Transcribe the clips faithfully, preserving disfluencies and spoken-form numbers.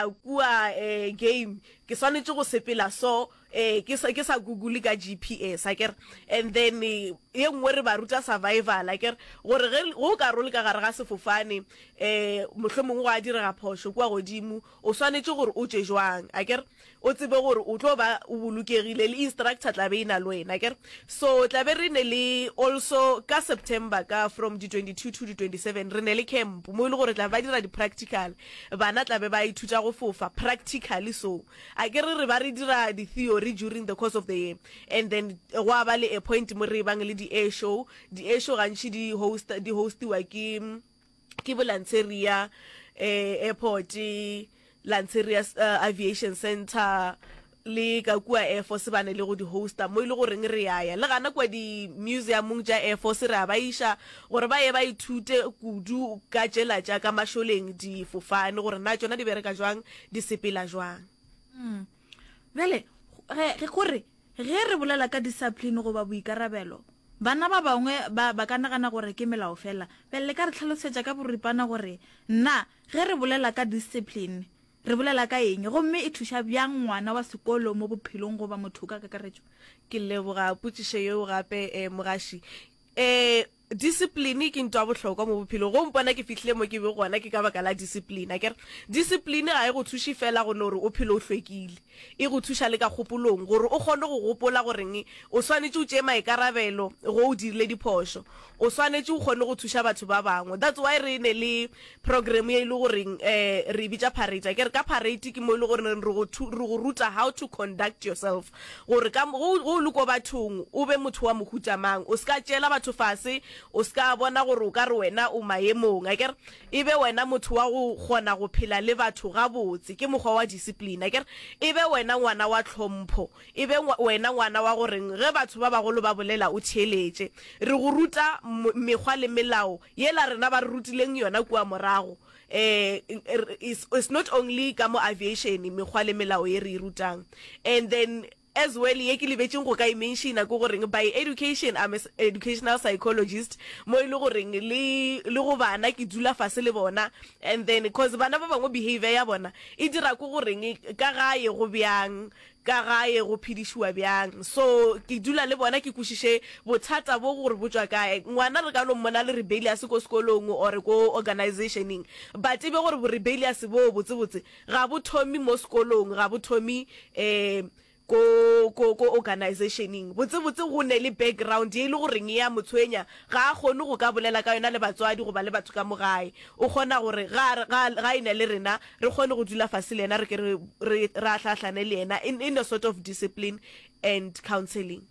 kua um game ke swanetše go sepela so um ke sa ke sa google ka G P S, akere? And then ye nngwe re ba ruta survival, akere? Gore ge go ka role ka gare ga sefofane, um mohlomongwe go a direga phošo kua godimo, o swanetše gore o tšwe jwang, akere? O tsebe gore o tlo ba o bolokegile le instructor tla be e na le wena, akere? So tla be re ne le also ka September, ka from di twenty-two to di twenty-seven, re ne le camp mo e le gore tla ba dira di-practical. Bana tla be ba ithuta go fofa practically. So a ke re re ba re dira di-theory during the course of the year, and then go a ba le a point mo re bang le di-air show. Di-air show gantši di host di hostiwa ke ke bo Lanseria eh, Airport, Lanseria uh, Aviation Center le ka kua Air Force ba ne le go di hosta, mo e le goreng re yaya le gana kua di-museumong tša Air Force, re a ba iša gore ba ye ba ithute kudu ka tšela tša ka mašoleng, difofane, gore na tšona di bereka jwang, di sepela jwang. mm. bjale ge gore ge re bolela ka discipline goba boikarabelo, bana ba bangwe ba ba ka nagana gore ke melao fela. Bjale le ka re tlhalosetša ka boripana gore nna ge re bolela ka discipline re bolela ka eng, gomme e thuša bjang ngwana wa sekolo mo bophelong goba motho ka kakaretšo? Ke leboga potšišo yeo gape, um mogaši. um discipline ke ntho ya bohlokwa mo bophelong. Go mpona ke fihlile mo ke be gona ke ka baka la discipline, akere? Discipline ga e go thuše fela go no gore o phele o hlwekile, e go thuša le ka kgopolong gore o kgone go gopola goreng o swanetše o tšee maikarabelo go o dirile diphošo, o swanetše o kgone go thuša batho ba bangwe. That's why re ne le program ye e le goreng um re e bitša parade, akere? Ka parade ke mo e le gore re go re go ruta how to conduct yourself, gore ka go o le ko bathong o be motho wa mohuta mang, o se ka tšeela batho fase, o se ka bona gore o ka re wena o maemong, akere? E be wena motho wa go kgona go phela le batho gabotse, ke mokgwa wa discipline, akere? E be wena ngwana wa tlhompho, e be wena ngwana wa goreng ge batho ba bagolo ba bolela o theeletše. Re go ruta mekgwa le melao yela rena ba re rutileng yona kua morago. eh it's, it's not only ka mo aviation mekgwa le melao ye re e rutang. And then as well, ye ke lebetseng go ka e mentiona ke goreng by education I'm a educational psychologist, mo e le goreng le le go bana ke dula fase le bona, and then 'cause bana ba bangwe behavior ya bona e dira ko goreng ka gae go bjang, ka gae go phedišiwa bjang. So ke dula le bona ke kwešiše bothata bo gore bo tšwa kae. Ngwana re ka no mmona le rebellious ko sekolong or ko organizationeng, but e be gore bo rebellious bo botsebotse ga bo thomi mo sekolong, ga bo thomi um ko ko ko organizationeng. Botsebotse go ne le background ye e le goreng ya motshwenya, ga a kgone go ka bolela ka yona le batswadi goba le batho ka mo gae. O kgona gore ga ga ga ene le rena re kgone go dula fase le yena, re ke re re re ahlaahlane le yena in, in a sort of discipline and counseling.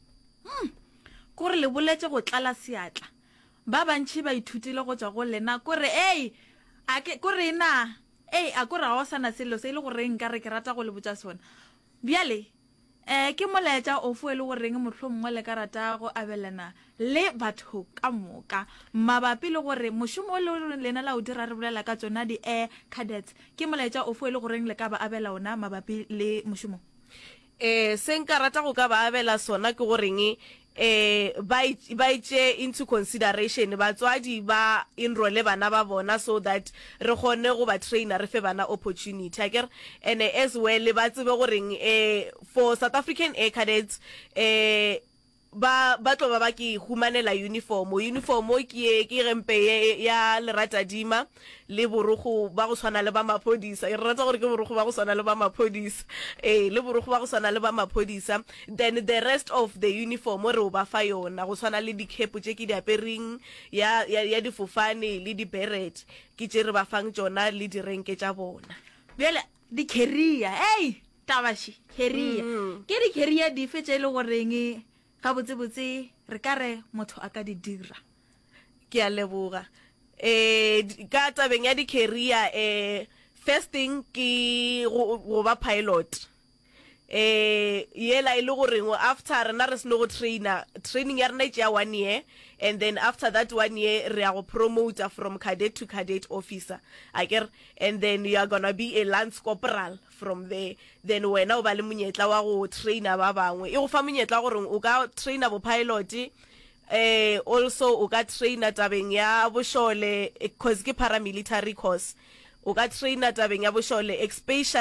Kore le boletse go tlala seatla, ba bantšhi ba ithutile go tswa go lena. Kore ei a ke kore na ei a kore ga o sana selo se e le goreng nka re ke rata go le botša sona. Bjale um ke molaetša ofo e le goreng mohlho mongwe le ka rata go abelana le batho ka moka mabapi le gore mošomo o le lena la o dira, re bolela ka tsona di-air cadets, ke molaetša ofo e le goreng le ka ba abela ona mabapi le mošomo? eh se nka rata go ka ba abela sona ke goreng eh ba ba itše into consideration, batswadi ba enrolle bana ba bona so that re kgone go ba trainer, re fe bana opportunity, akere? And as well ba tsebe goreng eh for South African Air Cadets eh ba ba tlo ba ba ke humanela uniform. Uniform ke ye ke gempe ye ya leratadima le borogo ba go tshwana le ba maphodisa. E re rata gore ke borogo ba go tshwana le ba maphodisa, ee, le borogo ba go tshwana le ba maphodisa. Then the rest of the uniform re o ba fa yona, go tshwana le di-cap tše ke di apereng ya, ya, ya difofane le di-beret, ke tše re ba fang tšona le direnke tša bona. Bjale di-career, ei tabaši, career, Mm. ke di-career dife tše e le goreng gabotsebotse re ka re motho a ka di dira? Ke a leboga. eh di- ka tabeng ya di-career, eh first thing ke go go ba pilot, eh yela e le goreng after rena re seno go trainer, training ya rena e tšea one year, and then after that one year re ya go promoter from cadet to cadet officer, akere? And then you are gonna be a lance corporal from there. Then wena o ba le monyetla wa go trainer ba bangwe. E go fa monyetla wa gore o ka trainer bo pilot, eh also o ka trainer tabeng ya bošole, cause ke paramilitary course. O ka traina tabeng ya bošole, especially